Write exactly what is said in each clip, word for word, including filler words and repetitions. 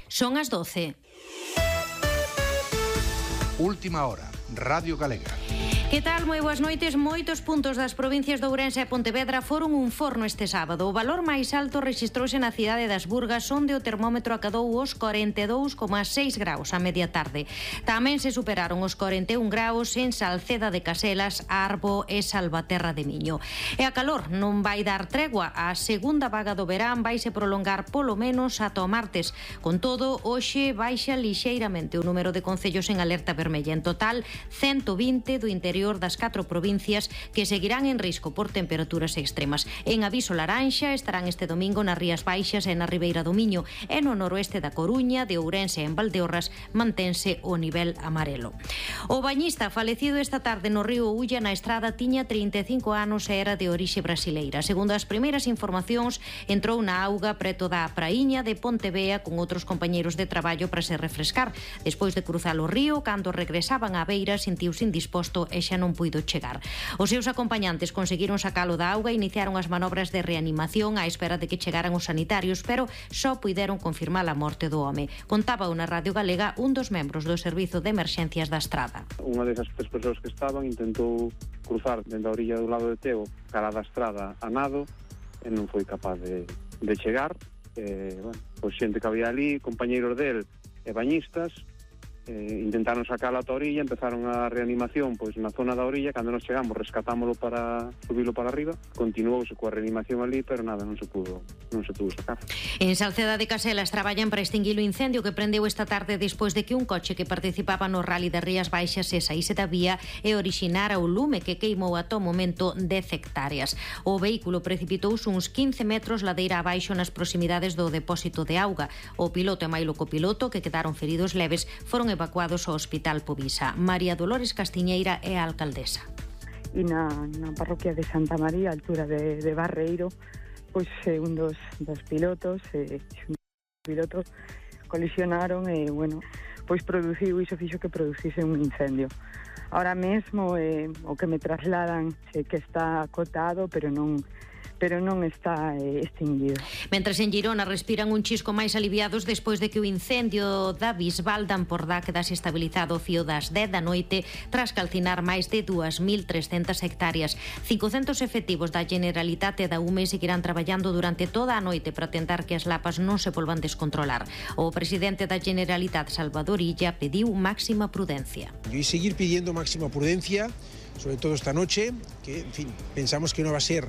Son as doce. Última hora, Radio Galega. Que tal? Moi boas noites. Moitos puntos das provincias de Ourense e Pontevedra foron un forno este sábado. O valor máis alto rexistrouse na cidade das Burgas, onde o termómetro acadou os corenta e dous coma seis graus a media tarde. Tamén se superaron os corenta e un graus en Salceda de Caselas, Arbo e Salvaterra de Miño. E a calor non vai dar tregua. A segunda vaga do verán vaise prolongar polo menos ata o martes. Con todo, hoxe baixa lixeiramente o número de concellos en alerta vermella. En total, ciento vinte do interior das catro provincias que seguirán en risco por temperaturas extremas. En aviso laranxa estarán este domingo nas Rías Baixas e na Ribeira do Miño, e no noroeste da Coruña, de Ourense e en Valdeorras mantense o nivel amarelo. O bañista falecido esta tarde no río Ulla na Estrada tiña trinta e cinco anos e era de orixe brasileira. Segundo as primeiras informacións, entrou na auga preto da praíña de Pontevea con outros compañeiros de traballo para se refrescar. Despois de cruzar o río, cando regresaban á beira, sentiuse indisposto e xa non puido chegar. Os seus acompañantes conseguiron sacalo da auga e iniciaron as manobras de reanimación á espera de que chegaran os sanitarios, pero só puideron confirmar a morte do home. Contaba na Radio Galega un dos membros do Servizo de Emerxencias da Estrada. Unha desas tres persoas que estaban intentou cruzar dentro da orilla do lado de Teo cara da Estrada a nado e non foi capaz de, de chegar. E, bueno, pois xente que había ali, compañeiros del e bañistas, Eh, intentaron sacala ata a orilla, empezaron a reanimación pois na zona da orilla. Cando nos chegamos rescatámolo para subilo para arriba, continuouse coa reanimación ali, pero nada, non se pudo non se pudo sacar. En Salceda de Caselas traballan para extinguir o incendio que prendeu esta tarde despois de que un coche que participaba no Rally das Rías Baixas se saíse da vía e orixinara o lume que queimou ata o momento dez hectáreas. O vehículo precipitouse uns quince metros ladeira abaixo nas proximidades do depósito de auga. O piloto e mailo copiloto, que quedaron feridos leves, foron evacuados ao Hospital Povisa. María Dolores Castiñeira é a alcaldesa. E na, na parroquia de Santa María, a altura de, de Barreiro, pois eh, un dos, dos pilotos, eh, un dos pilotos colisionaron e, bueno, pois produciu, iso fixo que producise un incendio. Ahora mesmo eh, o que me trasladan é que está acotado, pero non pero non está eh, extinguido. Mentres en Girona respiran un chisco máis aliviados despois de que o incendio da Bisbal de Ampordá quedase estabilizado o fío das dez da noite tras calcinar máis de dúas mil trescentas hectáreas. cincocentos efectivos da Generalitate e da U M E seguirán traballando durante toda a noite para tentar que as lapas non se volvan descontrolar. O presidente da Generalitat, Salvador Illa, pediu máxima prudencia. E seguir pidiendo máxima prudencia, sobre todo esta noche, que, en fin, pensamos que non va a ser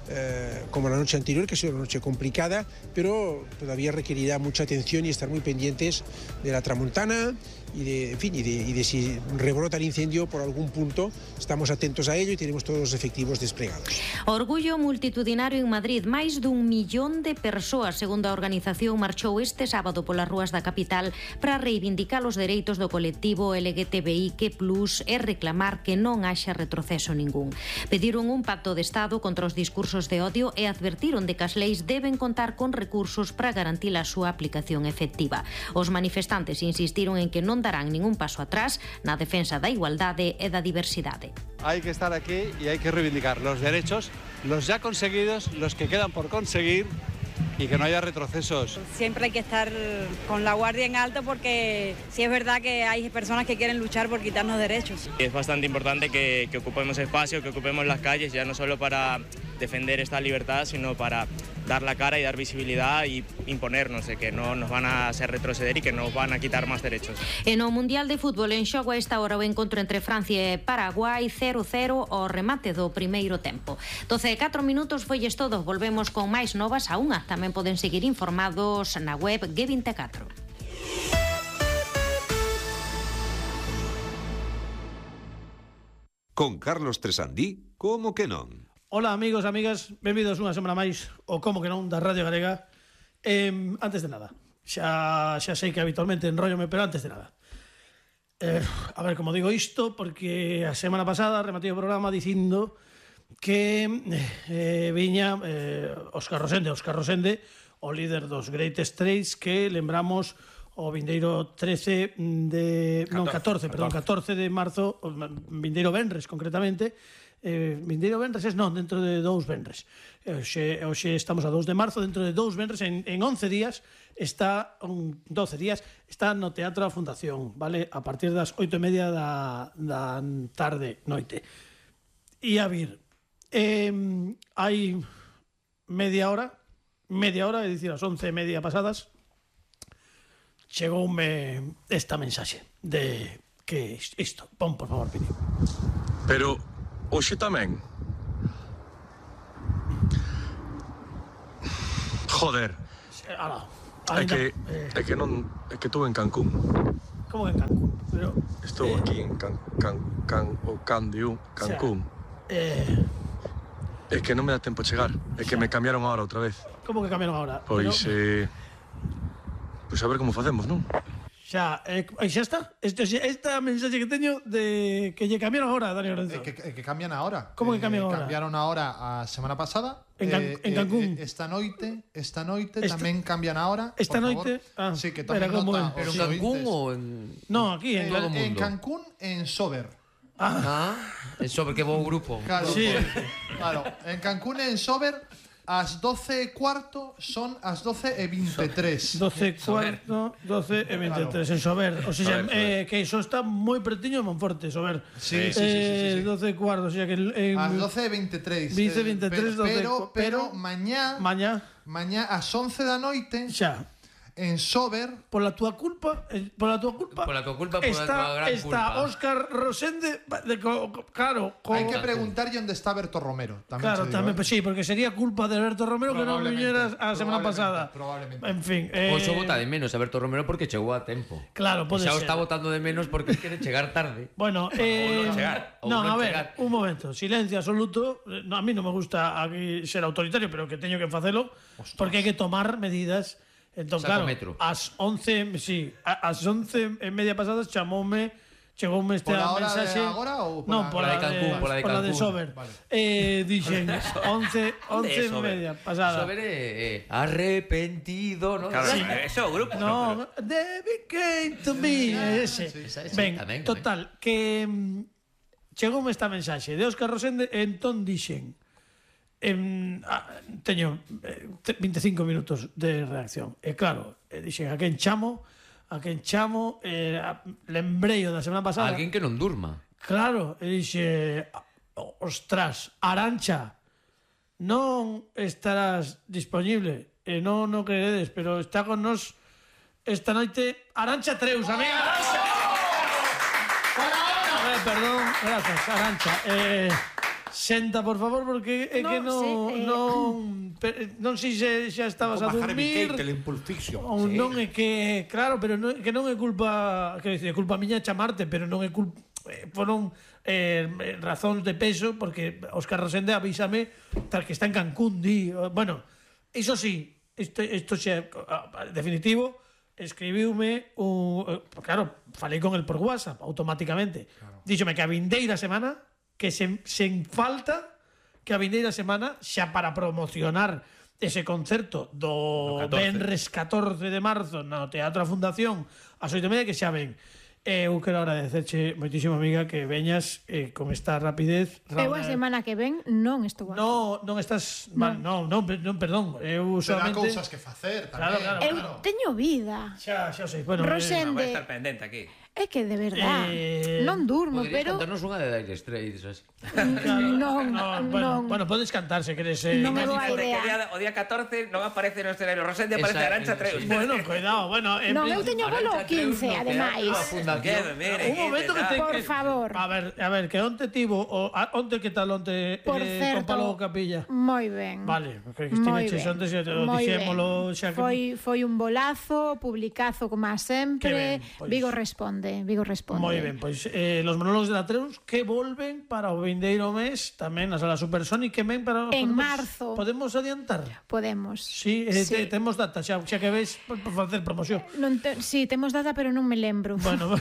Eh, como la noche anterior, que ha sido una noche complicada, pero todavía requerirá mucha atención y estar muy pendientes de la tramontana y de, en fin, y de, y de si rebrota el incendio por algún punto. Estamos atentos a ello y tenemos todos los efectivos desplegados. Orgullo multitudinario en Madrid. Máis dun millón de persoas, segundo a organización, marchou este sábado polas rúas da capital para reivindicar os dereitos do colectivo L G T B I Q plus, e reclamar que non haxa retroceso ningún. Pediron un pacto de Estado contra os discursos de odio e advertiron de que as leis deben contar con recursos para garantir a súa aplicación efectiva. Os manifestantes insistiron en que non darán ningún paso atrás na defensa da igualdade e da diversidade. Hay que estar aquí y hay que reivindicar los derechos, los ya conseguidos, los que quedan por conseguir, y que no haya retrocesos. Siempre hay que estar con la guardia en alto, porque sí es verdad que hay personas que quieren luchar por quitarnos derechos. Es bastante importante que, que ocupemos espacio, que ocupemos las calles, ya no solo para defender esta libertad, sino para dar la cara y dar visibilidad y imponernos de que no nos van a hacer retroceder y que nos van a quitar más derechos. En o Mundial de Fútbol en xogo a esta hora o encontro entre Francia e Paraguai, cero cero ao remate do primeiro tempo. doce e catro minutos foilles todo. Volvemos con máis novas a unha. Tamén poden seguir informados na web G vinte e catro. Con Carlos Tresandí, como que non? Hola amigos, amigas, benvidos unha semana máis o como que non da Radio Galega. eh, Antes de nada, xa, xa sei que habitualmente enróllome, pero antes de nada, eh, a ver como digo isto, porque a semana pasada rematei o programa dicindo que eh, viña eh, Óscar Rosende Óscar Rosende, o líder dos Greatest Trades, que lembramos o vindeiro trece de... non, catorce, perdón, catorce de marzo, o vindeiro venres concretamente, eh, vindeiro venres, es non, dentro de dous venres. Hoxe, hoxe estamos a dous de marzo, dentro de dous venres, en, en once días, está, un, doce días, está no Teatro da Fundación, vale? A partir das oito e media da, da tarde, noite. E a vir, eh, hai media hora, media hora, é dicir, as once e media pasadas, chegoume esta mensaxe de que isto, pon por favor, Pini. Pero hoxe tamén. Joder. Ala, é que eh... é que non é que estou en Cancún. Como que en Cancún? Pero estou eh... aquí en Can Can Can o Candiú, Cancún. O sea, eh É que non me dá tempo a chegar, é que me cambiaron ahora outra vez. Como que cambiaron ahora? Pois Pero... eh Pois a ver como facemos, non? Xa, eh, xa está. Esta, esta mensaxe que teño de que lle cambiaron ahora, Dani Lorenzo. Eh, que, que cambian ahora. Como que cambian eh, ahora? Cambiaron ahora a semana pasada. En, Can, eh, en Cancún. Eh, esta noite, esta noite esta, tamén cambian ahora. Esta noite, ah, sí, que tamén nota. Pero en Cancún ou en No, aquí en, en todo o mundo. En Cancún, en Sober. Ah, ah en Sober, que bo grupo. Claro, sí. Claro, en Cancún en Sober as doce e cuarto son as doce e veintitrés. doce e cuarto, doce e veintitrés en Sober. O sea, eh, que iso está moi pretiño de Monforte, Sober. Sí, sí, sí, sí, sí, sí. doce e cuarto, o sea que en as doce e veintitrés. doce e veintitrés, pero, pero, pero mañá, mañá, mañá ás once da noite. Xa. En Sober, pola túa culpa, pola túa culpa, pola túa culpa, pola está, túa gran está culpa. Óscar Rosende, de, claro, co... hai que preguntarlle onde está Berto Romero. Tamén claro, digo, tamén, eh? pues sí, porque sería culpa de Berto Romero que non viñeras a semana pasada. Probablemente. En fin, eh... Oso vota de menos a Berto Romero porque chegou a tempo. Claro, pode xa ser. o está votando de menos porque quere chegar tarde. Bueno, eh... ou non chegar. No, non a ver, chegar. un momento, silencio absoluto. No, a mí non me gusta aquí ser autoritario, pero que teño que facelo. Ostras. Porque hai que tomar medidas. Entón, claro, ás once, sí, ás once e media pasadas chamoume, chegoume esta mensaxe. Pola hora de agora ou pola, non, pola de Cancún, pola de, pola de Cancún. Sober. Vale. Eh, dixen once, once e media pasada. Sober é eh, arrepentido, ¿no? Claro, sí. Eso o grupo. No, no pero... David came to me, ese. Sí, sí, sí. Ben, tamén, total, tamén. que mm, chegoume esta mensaxe de Óscar Rosende, entón dixen En, ah, teño eh, veinticinco minutos de reacción. E claro, eh, dixen a quen chamo, a quen chamo, eh, lembrei o da semana pasada. Alguén que non durma. Claro, e dixe, ostras, Arancha, non estarás disponible, e non o creeredes, pero está con nos esta noite Arancha Treus, amiga Arancha. Eh, perdón, gracias, Arancha. Eh, Senta, por favor, porque é no, que non sí, eh... non non sei se xa estabas a dormir. Ou sí. Non é que, claro, pero non, que non é culpa, que é culpa miña chamarte, pero non é culpa, foron eh, razóns de peso, porque Óscar Rosende avísame tal que está en Cancún, di, bueno, iso sí, isto, isto xa definitivo, escribiume un, claro, falei con el por WhatsApp automáticamente. Claro. Díxome que a vindeira semana que sen, sen falta que a vindeira semana xa para promocionar ese concerto do venres catorce de marzo no Teatro da Fundación ás oito e media, que xa ven. Eu quero agradecerche moitísimo, amiga, que veñas eh, con esta rapidez. Eu a semana que ven non estou aquí. No, non estás mal, non, non, non, perdón. Eu solamente Terá cousas que facer tamén. Claro, claro, eu claro. teño vida. Xa, xa sei. Bueno, Rosende, eh, vai estar pendente aquí. É que de verdad, eh, non durmo, pero... Poderías cantarnos unha de Dire Straits, así. Non, non, bueno, non. Bueno, podes cantar se queres. Eh, non é boa idea. O día, o día catorce non aparece no escenario Rosende, aparece Arancha Treus. Bueno, cuidado, bueno... En non, eu teño bolo quince, ademais. Un momento que te... Por favor. A ver, a ver, que onte tivo... O, a, onte que tal onte Por eh, certo, con Palo Capilla? Moi ben. Vale, porque estive che onte, se o dixémolo xa que... Foi, foi un bolazo, publicazo como sempre. Ben, pues... Vigo responde, Vigo responde. Moi ben, pois pues, eh, los monólogos de la Treus que volven para o vindeiro mes tamén na Sala Supersonic, que ven para... En podemos, marzo. Podemos adiantar? Podemos. Sí, eh, sí. Te, temos data, xa, xa que ves por, por facer promoción. Non te, sí, temos data, pero non me lembro. Bueno,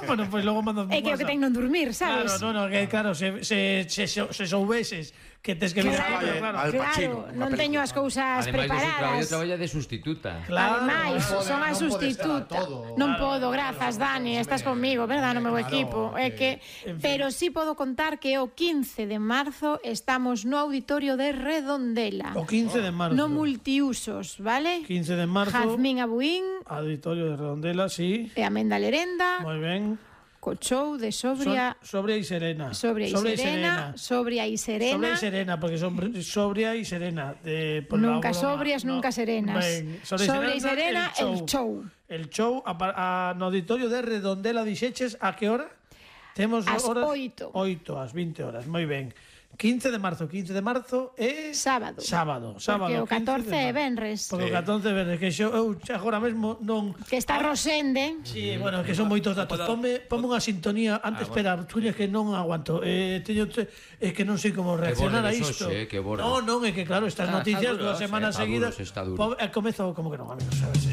bueno, pois pues logo mando... É que o que ten non dormir, sabes? Claro, no, no, que claro, se, se, se, se soubeses que tes que vir claro, aquí, claro, claro, claro, non teño as cousas ademais preparadas. Ademais, traballa de sustituta. Claro, ademais, no son a non sustituta. Todo. Non claro, podo, grazas, Dani. estás conmigo, verdad, no meu claro, equipo. É que, en fin. pero sí podo contar que o quince de marzo estamos no auditorio de Redondela. O quince de marzo. No multiusos, vale? quince de marzo. Jazmín Abuín. Auditorio de Redondela, sí. E Amenda Lerenda. Moi ben. Co show de Sobria. Son, sobria e Serena. Sobria e Serena. Sobria e Serena. Sobria e Serena, porque son sobria e serena. De, por nunca la sobrias, no. nunca serenas. Ben, sobria e Serena, el show. El show, a, a, no auditorio de Redondela dixeches, a que hora? Temos as horas? oito. Oito, as vinte horas, moi ben. quince de marzo, quince de marzo é... Sábado. Sábado, sábado. Porque o catorce é venres. Porque o catorce é venres, que xo, eu agora mesmo non... Que está Rosende. Sí, bueno, que son moitos datos. Ponme, ponme unha sintonía, antes, ah, espera, bueno. Que non aguanto. Eh, teño, é que non sei como reaccionar a isto. Hoxe, eh, que no, non, é que claro, estas ah, noticias dúas semanas eh, seguidas... Está duro, está duro. Comezo como que non, amigos, sabes?